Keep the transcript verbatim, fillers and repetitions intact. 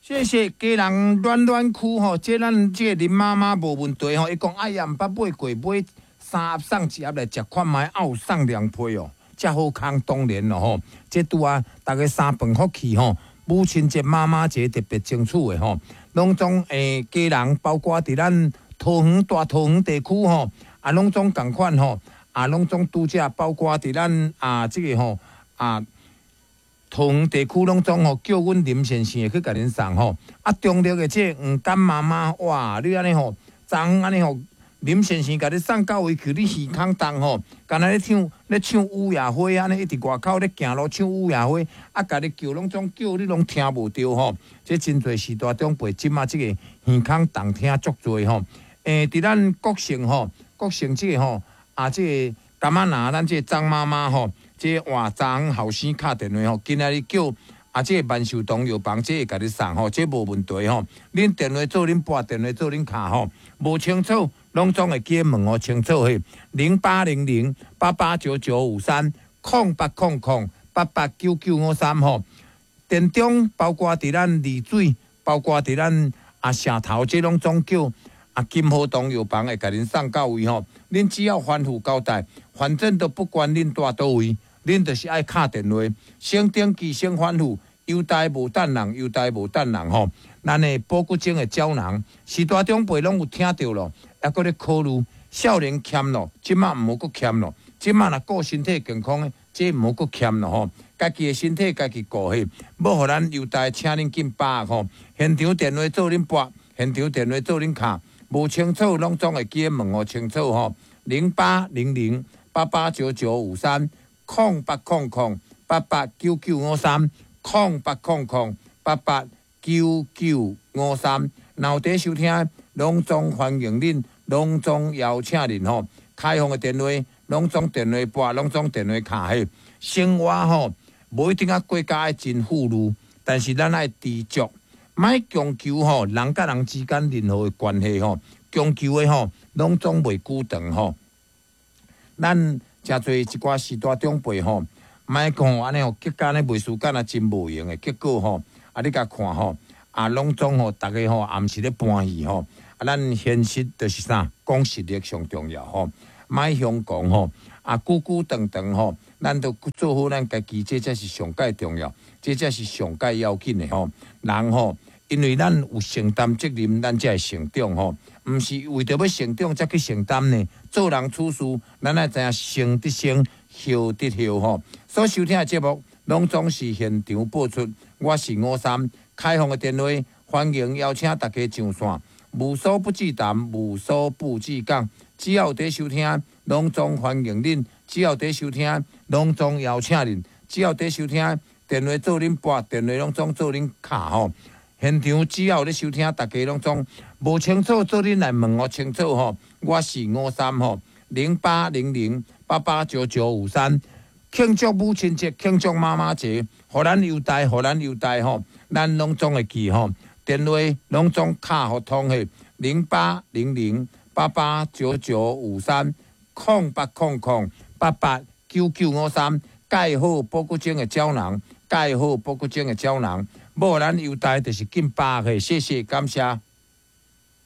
謝謝家人暖暖區吼，這咱這個林媽媽無問題吼，伊講哎呀，毋捌買過，買三盒送一盒來食看覓，啊有送涼被哦，遮好康當然咯吼。這拄啊，逐家三飯福氣吼，母親節、媽媽節特別爭取的吼，攏總誒家人包括佇咱桃園大桃園地區吼，啊攏總仝款吼，啊攏總拄則包括佇咱啊這個吼啊。桃園地區攏總吼叫阮林先生會去共恁送吼，啊中壢的這個黃甘媽媽，哇！你按呢吼，昨昏按呢吼，林先生共你送到位去，你耳孔重吼，敢若咧唱咧唱雨夜花按呢，一直外口咧行路唱雨夜花，啊，共你叫攏總叫你攏聽無著吼。這真濟序大長輩這馬這個耳孔重聽足濟吼。欸，佇咱國姓吼，國姓這個吼，啊，這個柑仔林咱這個張媽媽吼。這哇，昨昏後生敲電話吼，今仔日叫啊，這個萬壽堂藥房，這會共你送吼，這無問題吼。恁電話做恁撥，電話做恁敲吼，無清楚，攏總會記問予清楚嘿。零八零零八八九九五三，空八空空八八九九五三吼。田中包括佇咱麗水，包括佇咱啊城頭，這攏總叫啊金和堂藥房會共恁送到位吼。恁只要吩咐交代，反正都不管恁蹛佗位。恁就是愛敲電話，先登記先吩咐，郵代無等人，郵代無等人吼。咱的保骨精的膠囊，序大長輩攏有聽著咯，猶閣咧考慮。少年欠咯，這馬毋好閣欠咯。這馬若顧身體健康的，這毋好閣欠咯吼。家己的身體家己顧彼，欲予咱郵代請恁緊把握吼。現場電話做恁撥，現場電話做恁敲，無清楚攏總會記得問予清楚吼。零八零零八八九九五三。空八空空八八九九五三，空八空空八八九九五三。若有佇收聽，攏總歡迎恁，攏總邀請恁吼。開放的電話，攏總電話撥，攏總電話敲彼。生活吼，無一定啊過甲愛真富裕，但是咱愛知足，莫強求吼，人佮人之間任何的關係吼，強求的吼，攏總袂久長吼。咱誠濟一寡序大長輩吼，莫講按呢吼，結果呢袂輸敢若真無閒的，結果吼，啊你共看吼，啊攏總吼，逐家吼也毋是咧搬戲吼，啊咱現實就是啥，講實力上重要吼，莫虛講吼，啊久久長長吼，咱都做好咱家己，這才是上蓋重要，這才是上蓋要緊的吼。人吼，因為咱有承擔責任，咱才會成長吼。毋是為著欲成長才去承擔呢。做人處事，咱愛知影先得先，後得後吼。所收聽的節目，攏總是現場播出。我是吳三，開放的電話，歡迎邀請大家上線。無所不至談，無所不至講。只要有佇收聽，攏總歡迎恁；只要佇收聽，攏總邀請恁；只要佇收聽，電話做恁撥，電話攏總做恁敲吼。現場只要有咧收聽，大家攏總無清楚，做恁來問予清楚吼。我是吳三吼，零八零零八八九九五三。慶祝母親節，慶祝媽媽節，予咱郵代，予咱郵代吼，咱攏總會記吼。電話攏總敲予通的零八零零八八九九五三，空八空空八八九九五三，蓋好保骨精的膠囊，蓋好保骨精的膠囊。無咱郵代就是緊把握，謝謝感謝。